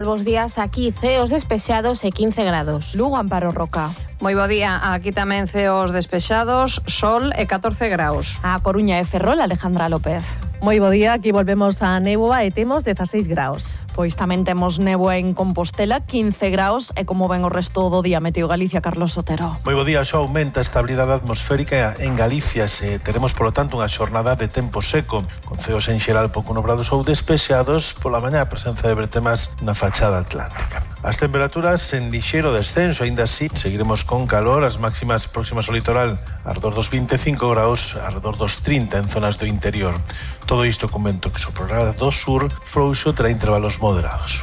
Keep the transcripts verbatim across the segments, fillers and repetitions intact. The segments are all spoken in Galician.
Bos días, aquí ceos despexados e quince grados. Lugo, Amparo Roca. Moi bo día, aquí tamén ceos despexados, sol e catorce graus. A Coruña e Ferrol, Alejandra López. Moi bo día, aquí volvemos a néboa e temos dezaseis graus. Pois tamén temos néboa en Compostela, quince graus, e como ven o resto do día, Meteo Galicia, Carlos Sotero. Moi bo día, xa aumenta a estabilidade atmosférica en Galicia, se teremos polo tanto unha xornada de tempo seco, con ceos en xeral pouco nubrados ou despexados, pola mañá a presenza de bretemas na fachada atlántica. As temperaturas en lixeiro descenso, aínda así, seguiremos con calor, as máximas próximas ao litoral, arredor dos vinte e cinco graus, arredor dos trinta en zonas do interior. Todo isto con vento que soprará do sur, frouxo terá intervalos moderados.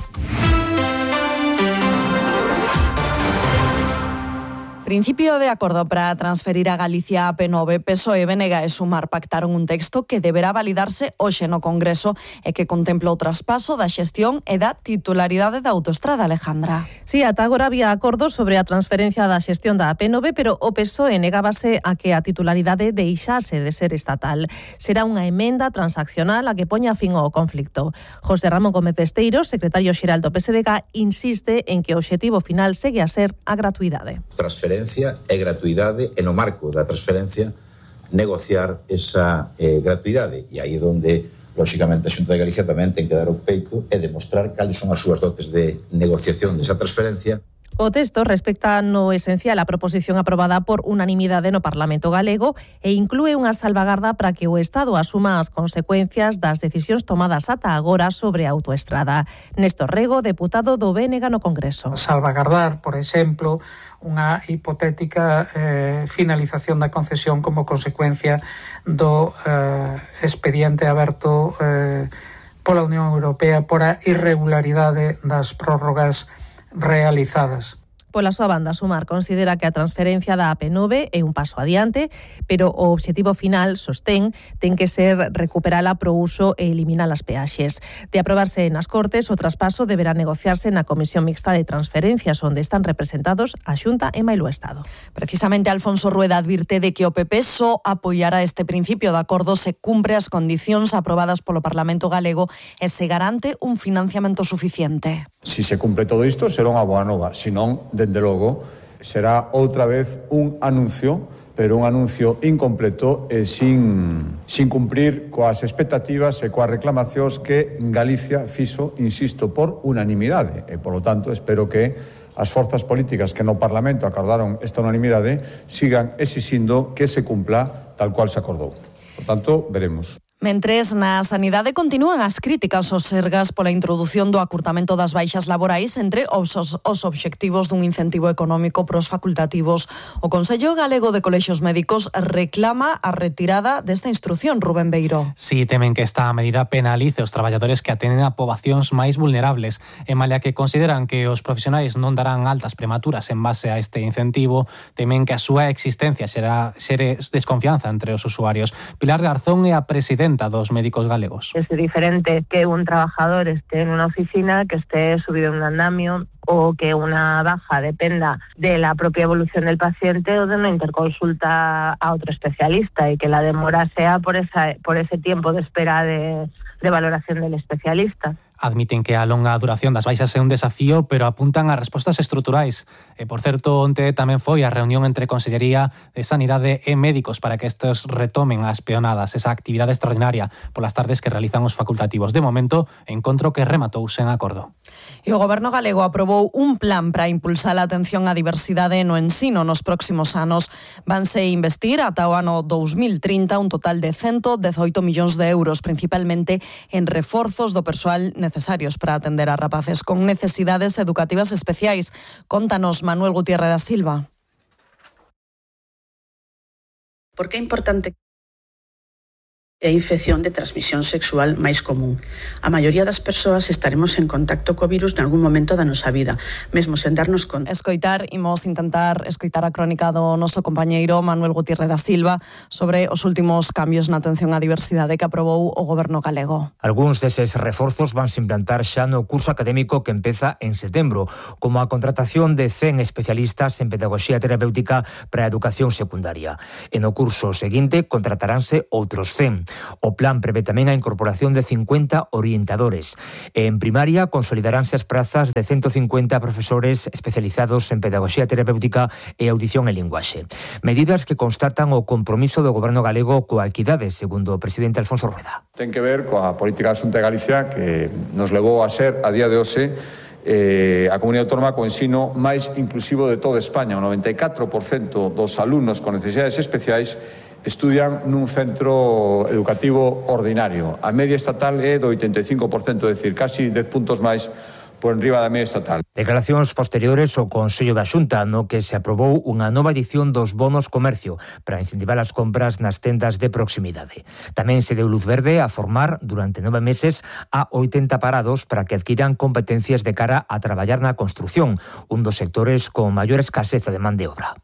Principio de acordo para transferir a Galicia a P nove. P S O E, B N G e Sumar pactaron un texto que deberá validarse hoxe no Congreso e que contempla o traspaso da xestión e da titularidade da autoestrada, Alejandra. Sí, ata agora había acordos sobre a transferencia da xestión da P nove, pero o P S O E negábase a que a titularidade deixase de ser estatal. Será unha emenda transaccional a que poña fin ao conflicto. José Ramón Gómez Besteiro, secretario xeral do P S D G, insiste en que o obxectivo final segue a ser a gratuidade. Transferencia e gratuidade, e no marco da transferencia negociar esa eh, gratuidade, e aí é onde lóxicamente a Xunta de Galicia tamén ten que dar o peito e demostrar cales son as súas dotes de negociación desa transferencia. O texto respecta no esencial a proposición aprobada por unanimidade no Parlamento galego e inclúe unha salvagarda para que o Estado asuma as consecuencias das decisións tomadas ata agora sobre a autoestrada. Néstor Rego, deputado do B N G no Congreso. Salvagardar, por exemplo, unha hipotética eh, finalización da concesión como consecuencia do eh, expediente aberto eh, pola Unión Europea por a irregularidade das prórrogas realizadas. Pola súa banda, Sumar considera que a transferencia da A P nove é un paso adiante, pero o obxectivo final, sostén, ten que ser recuperala pro uso e eliminar as peaxes. De aprobarse nas Cortes, o traspaso deberá negociarse na Comisión Mixta de Transferencias, onde están representados a Xunta e mailo Estado. Precisamente Alfonso Rueda advirte de que o P P só apoiará este principio de acordo se cumpre as condicións aprobadas polo Parlamento galego e se garante un financiamento suficiente. Si se cumpre todo isto, será unha boa nova, senón, dende logo, será outra vez un anuncio, pero un anuncio incompleto e sin, sin cumprir coas expectativas e coas reclamacións que Galicia fixo, insisto, por unanimidade. E, polo tanto, espero que as forzas políticas que no Parlamento acordaron esta unanimidade sigan exixindo que se cumpla tal cual se acordou. Por tanto, veremos. Mentres, na sanidade continúan as críticas aos Sergas pola introdución do acurtamento das baixas laborais entre os, os obxectivos dun incentivo económico pros facultativos. O Consello Galego de Colexios Médicos reclama a retirada desta instrucción, Rubén Beiró. Si, temen que esta medida penalice os traballadores que atenden a poboacións máis vulnerables, e malia que consideran que os profesionais non darán altas prematuras en base a este incentivo, temen que a súa existencia xera, xere desconfianza entre os usuarios. Pilar Garzón é a presidenta dos médicos galegos. Es diferente que un trabajador esté en una oficina, que esté subido en un andamio, o que una baja dependa de la propia evolución del paciente o de una interconsulta a otro especialista, y que la demora sea por esa, por ese tiempo de espera de, de valoración del especialista. Admiten que a longa duración das baixas é un desafío, pero apuntan a respostas estruturais. E, por certo, onte tamén foi a reunión entre Consellería de Sanidade e médicos para que estes retomen as peonadas, esa actividade extraordinaria polas tardes que realizan os facultativos. De momento, encontro que rematou sen acordo. E o Goberno galego aprobou un plan para impulsar a atención á diversidade no ensino nos próximos anos. Vanse investir ata o ano dous mil trinta un total de ciento dezoito millóns de euros, principalmente en reforzos do persoal necesarios para atender a rapaces con necesidades educativas especiais. Contanos, Manuel Gutiérrez da Silva. Por que é importante é a infección de transmisión sexual máis común. A maioría das persoas estaremos en contacto co virus nalgún momento da nosa vida, mesmo sen darnos conta. Escoitar, imos intentar escoitar a crónica do noso compañeiro Manuel Gutiérrez da Silva sobre os últimos cambios na atención á diversidade que aprobou o Goberno galego. Algúns deses reforzos vanse implantar xa no curso académico que empeza en setembro, como a contratación de cen especialistas en pedagogía terapéutica para a educación secundaria. E no curso seguinte contrataránse outros cen. O plan prevé tamén a incorporación de cincuenta orientadores. En primaria consolidaránse as prazas de ciento cincuenta profesores especializados en pedagogía terapéutica e audición e linguaxe. Medidas que constatan o compromiso do goberno galego coa equidade, segundo o presidente Alfonso Rueda. Ten que ver coa política da Xunta de Galicia que nos levou a ser, a día de hoxe, Eh, a comunidade autónoma co ensino máis inclusivo de toda España. O noventa e catro por cento dos alumnos con necesidades especiais estudian nun centro educativo ordinario. A media estatal é do oitenta e cinco por cento, é dicir, casi dez puntos máis por enriba da media estatal. Declaracións posteriores ao Consello da Xunta, no que se aprobou unha nova edición dos bonos comercio para incentivar as compras nas tendas de proximidade. Tamén se deu luz verde a formar durante nove meses a oitenta parados para que adquiran competencias de cara a traballar na construción, un dos sectores con maior escaseza de man de obra.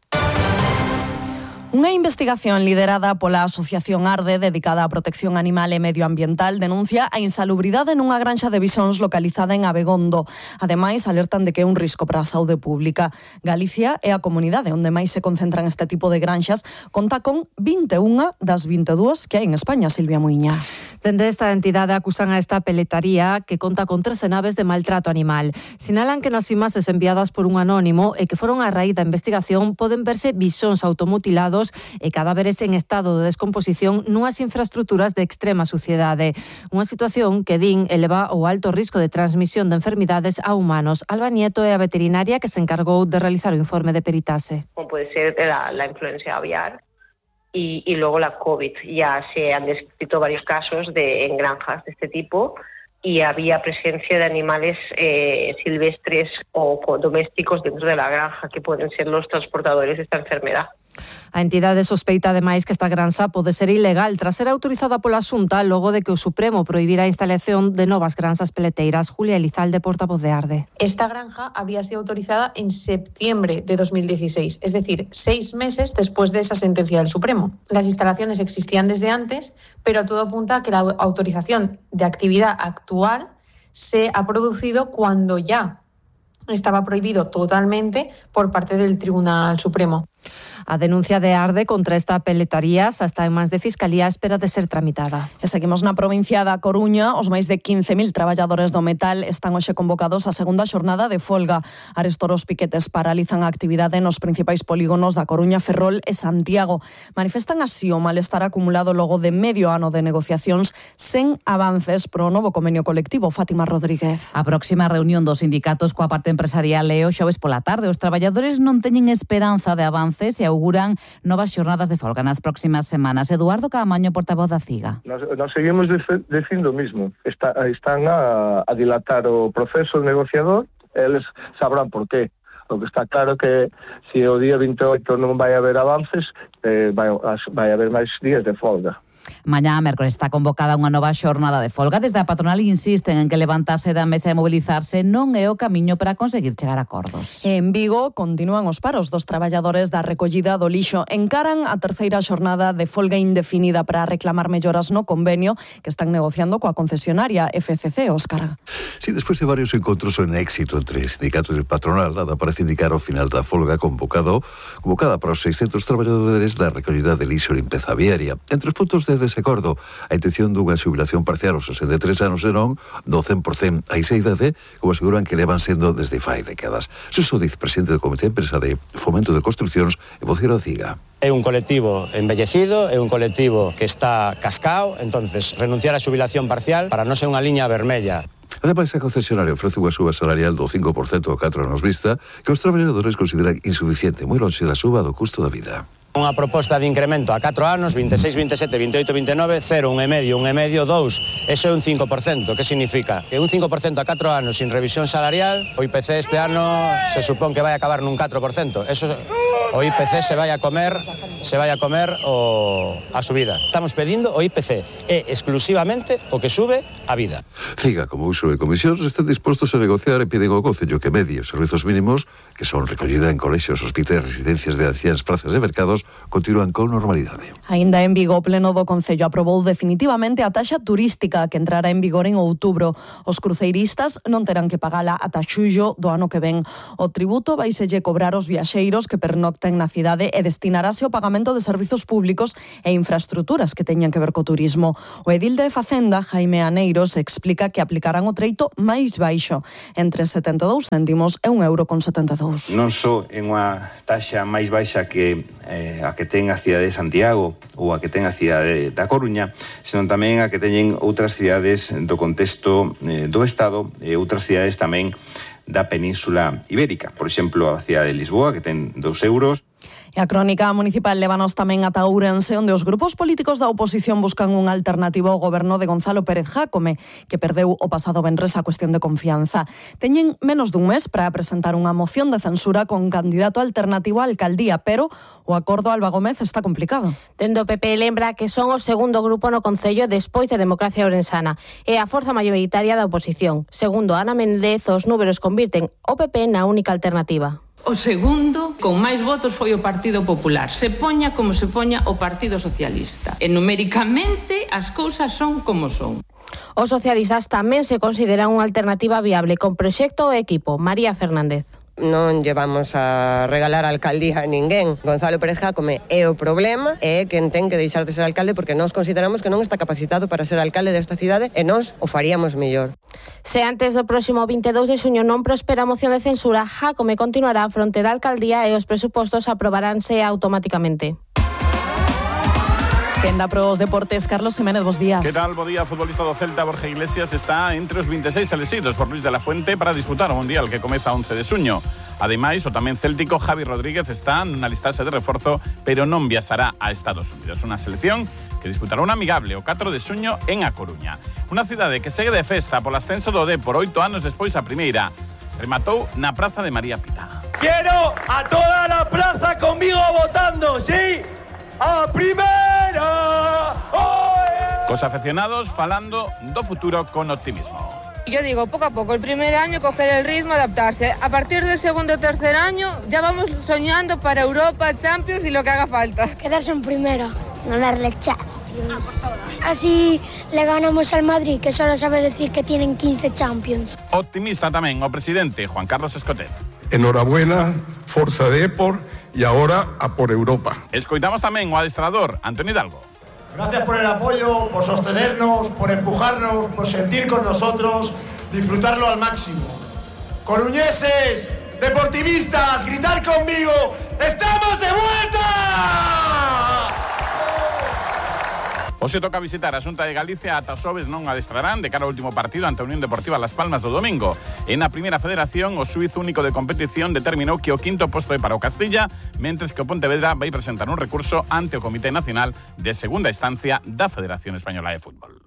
Unha investigación liderada pola Asociación Arde, dedicada á protección animal e medioambiental, denuncia a insalubridade nunha granxa de bisóns localizada en Abegondo. Ademais, alertan de que é un risco para a saúde pública. Galicia é a comunidade onde máis se concentran este tipo de granxas. Conta con vinte e unha das vinte e dúas que hai en España, Silvia Muiña. Dende esta entidade acusan a esta peletaría que conta con trece naves de maltrato animal. Sinalan que nas imaxes enviadas por un anónimo e que foron a raíz da investigación poden verse bisóns automutilados e cadáveres en estado de descomposición nunhas infraestructuras de extrema suciedade. Unha situación que din eleva o alto risco de transmisión de enfermidades a humanos. Alba Nieto é a veterinaria que se encargou de realizar o informe de peritaxe. Como puede ser la, la influencia aviar y, y luego la COVID. Ya se han descrito varios casos de, en granjas de este tipo y había presencia de animales eh, silvestres o domésticos dentro de la granja que pueden ser los transportadores de esta enfermedad. A entidade sospeita ademais que esta granxa pode ser ilegal tras ser autorizada pola Xunta logo de que o Supremo prohibira a instalación de novas granxas peleteiras. Julia Elizalde, portavoz de Arde. Esta granja habría sido autorizada en septiembre de dos mil dieciséis, es decir, seis meses después de esa sentencia del Supremo. Las instalaciones existían desde antes, pero todo apunta a que la autorización de actividad actual se ha producido cuando ya estaba prohibido totalmente por parte del Tribunal Supremo. A denuncia de Arde contra esta peletaría xa está en mans de Fiscalía a espera de ser tramitada. E seguimos na provincia da Coruña. Os máis de quince mil traballadores do metal están hoxe convocados á segunda xornada de folga. Arestor os piquetes paralizan a actividade nos principais polígonos da Coruña, Ferrol e Santiago. Manifestan así o malestar acumulado logo de medio ano de negociacións sen avances pro novo convenio colectivo. Fátima Rodríguez. A próxima reunión dos sindicatos coa parte empresarial é o xoves pola tarde. Os traballadores non teñen esperanza de avances e auguran novas xornadas de folga nas próximas semanas. Eduardo Caamaño, portavoz da CIGA. Nos, nos seguimos dicindo o mismo. Está, están a, a dilatar o proceso negociador, eles sabrán por qué. O que está claro que se o día vinte e oito non vai haber avances, eh, vai, vai haber máis días de folga. Mañá, mércoles, está convocada unha nova xornada de folga. Desde a patronal insisten en que levantarse da mesa e mobilizarse non é o camiño para conseguir chegar a acordos. En Vigo continúan os paros dos traballadores da recollida do lixo. Encaran a terceira xornada de folga indefinida para reclamar melloras no convenio que están negociando coa concesionaria F C C, Óscar. Sí, despois de varios encontros en éxito entre sindicatos e patronal, nada parece indicar o final da folga convocado, convocada para os seiscentos traballadores da recollida de lixo e limpeza viaria. Entre os puntos de desacordo, a intención dunha xubilación parcial aos sesenta e tres anos e non do cen por cento a esa idade, como aseguran que levan sendo desde fai décadas. Suso Diz, presidente do Comité de Empresa de Fomento de Construcións e voceiro da CIGA. É un colectivo embellecido, é un colectivo que está cascao, entonces renunciar á xubilación parcial para non ser unha liña vermella. Ademais, a concesionaria ofrece unha suba salarial do cinco por cento a catro anos vista que os traballadores consideran insuficiente, moi lonxe da suba do custo da vida. Unha proposta de incremento a catro anos, vinte e seis, vinte e sete, vinte e oito, vinte e nove, cero, un e medio, un e medio, dous. Eso é un cinco por cento. Que significa? Que un cinco por cento a catro anos sin revisión salarial, o I P C este ano se supón que vai acabar nun catro por cento. Eso, o I P C se vai a comer, se vai a comer o, a subida. Estamos pedindo o I P C. É exclusivamente o que sube a vida. CIGA, como uso de comisións, están dispostos a negociar e piden ao Concello que medie os servizos mínimos que son recollida en colexios, hospitais, residencias de anciáns, plazas de mercados, continúan con normalidade. Aínda en Vigo, o Pleno do Concello aprobou definitivamente a taxa turística que entrará en vigor en outubro. Os cruceiristas non terán que pagala ata xullo do ano que ven. O tributo vaiselle cobrar os viaxeiros que pernocten ten na cidade e destinarase ao pagamento de servizos públicos e infraestruturas que teñan que ver co turismo. O edil de Facenda, Jaime Aneiros, explica que aplicarán o treito máis baixo, entre setenta e dous céntimos e un euro con setenta e dous. Non só en unha taxa máis baixa que eh, a que ten a cidade de Santiago ou a que ten a cidade da Coruña, senón tamén a que teñen outras cidades do contexto eh, do Estado e outras cidades tamén da Península Ibérica. Por exemplo, a cidade de Lisboa, que ten dous euros. E a crónica municipal lévanos tamén ata Ourense, onde os grupos políticos da oposición buscan unha alternativa ao goberno de Gonzalo Pérez Jácome, que perdeu o pasado venres a cuestión de confianza. Teñen menos dun mes para presentar unha moción de censura con candidato alternativo á alcaldía, pero o acordo Alba Gómez está complicado. Dende o P P lembra que son o segundo grupo no Concello despois de Democracia Ourensana e a forza maioritaria da oposición. Segundo Ana Méndez, os números convirten o P P na única alternativa. O segundo, con máis votos, foi o Partido Popular. Se poña como se poña o Partido Socialista. E numéricamente as cousas son como son. Os socialistas tamén se consideran unha alternativa viable con proxecto e equipo. María Fernández. Non llevamos a regalar a alcaldía a ninguén. Gonzalo Pérez Jácome é o problema e é quen ten que deixar de ser alcalde porque nós consideramos que non está capacitado para ser alcalde desta cidade e nós o faríamos mellor. Se antes do próximo vinte e dous de xuño non prospera a moción de censura, Jácome continuará a fronte da alcaldía e os presupostos aprobaránse automáticamente. Quenda pros deportes, Carlos Jiménez, bos días. Que tal? Bo día, futbolista do Celta, Borja Iglesias, está entre os vinte e seis elexidos por Luis de la Fuente para disputar o Mundial que comeza once de xuño. Ademais, o tamén céltico Javi Rodríguez está na listaxe de reforzo, pero non viaxará a Estados Unidos. Unha selección que disputará un amigable o catro de xuño en A Coruña. Unha cidade que segue de festa polo ascenso do D por oito anos despois a primeira. Rematou na Praza de María Pita. Quiero a toda la plaza conmigo votando, ¿sí? ¡A primera! ¡Oh, yeah! Cos aficionados falando do futuro con optimismo. Yo digo, poco a poco, el primer año coger el ritmo, adaptarse. A partir del segundo o tercer año ya vamos soñando para Europa, Champions y lo que haga falta. Quedarse en primera, ganarle Champions. Así le ganamos al Madrid, que solo sabe decir que tienen quince Champions. Optimista tamén o presidente Juan Carlos Escotet. Enhorabuena, Forza Depor y ahora a por Europa. Escoitamos tamén o adestrador Antonio Hidalgo. Gracias por el apoyo, por sostenernos, por empujarnos, por sentir con nosotros, disfrutarlo al máximo. Coruñeses, deportivistas, gritar conmigo, ¡estamos de vuelta! Hoxe toca visitar a Xunta de Galicia, ata os xoves non adestrarán de cara ao último partido ante a Unión Deportiva Las Palmas do domingo. En a primeira federación, o xuízo único de competición determinou que o quinto posto é para o Castilla, mentres que o Pontevedra vai presentar un recurso ante o Comité Nacional de Segunda Instancia da Federación Española de Fútbol.